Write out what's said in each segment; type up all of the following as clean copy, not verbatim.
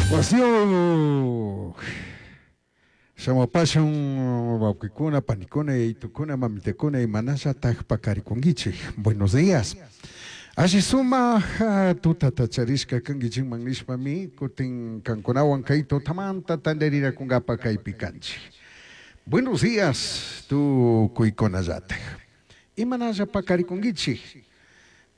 Wasiyuq shamupashun wawqikuna, panikuna, yayitukuna, mamitakuna imanallataq paqarikunkichik. Buenos días. Alli sumaq tutata charishka kankichikman nishpami kutin kankunawan kay tutamanta tantarirakunkapa kaypi kanchik. Buenos días tukuykunallatak. Imanalla paqarikunkichik.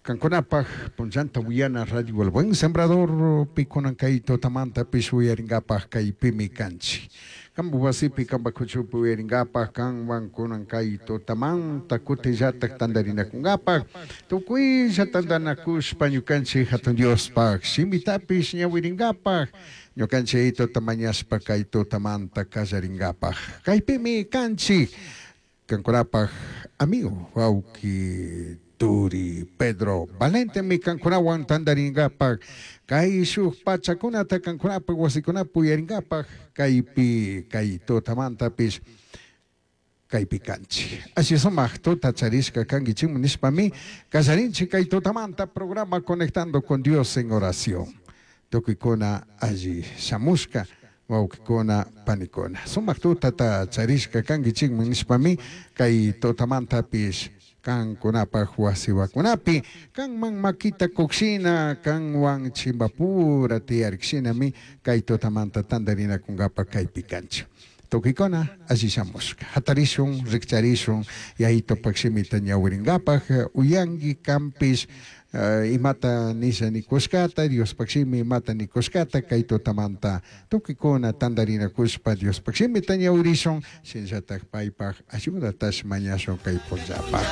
Kankunapaj punllanta uyana Radio El Buen Sembrador pikunan kay tutamantapish uyaringapaj kaypimi kanchik. Kampak wasipi kampak kuchupi uyaringapaj kanwan kunan kay tutamanta kutillatak tantarinakunkapaj tukuylla tantanakushpa ñukanchik hatun Diospaj shimitapish ñawiringapaj ñukanchik tuta mañashpa kay tutamanta kallaringapaj kaypimi kanchik. Kankunapaj amigo wawki turi Pedro Valentemi kankunawan tantaringapaj kay shuk pachakunata kankunapaj wasikunapi uyaringapaj kaypi kay tutamantapish kaypi kanchik. Alli sumaq tuta charishka kankichikmi nishpami kallarinchik kay tutamanta programa Conectando con Dios en oración. Tukuykuna alli shamushka wawqikuna panikuna. Sumaq tutata charishka kankichikmi nishpami kay tutamantapish kankunapaj wasiwakunapi kanman makita kukshina kanwan chimbapura tiyarikshinami kay tutamanta tantarinakunkapa kaypi kanchik. Tukuykuna alli shamushka. Hatarishun, rikcharishun, yayitupak shimita ñawiringapaj uyanki kanpish imata nisha nikushkata, Diospaj shimi imata nikushkata kay tutamanta tukuykuna tantarinakushpa Diospaj shimita ñawirishun, shinallatak paypaj ayudatash mañashun kay punllapaj.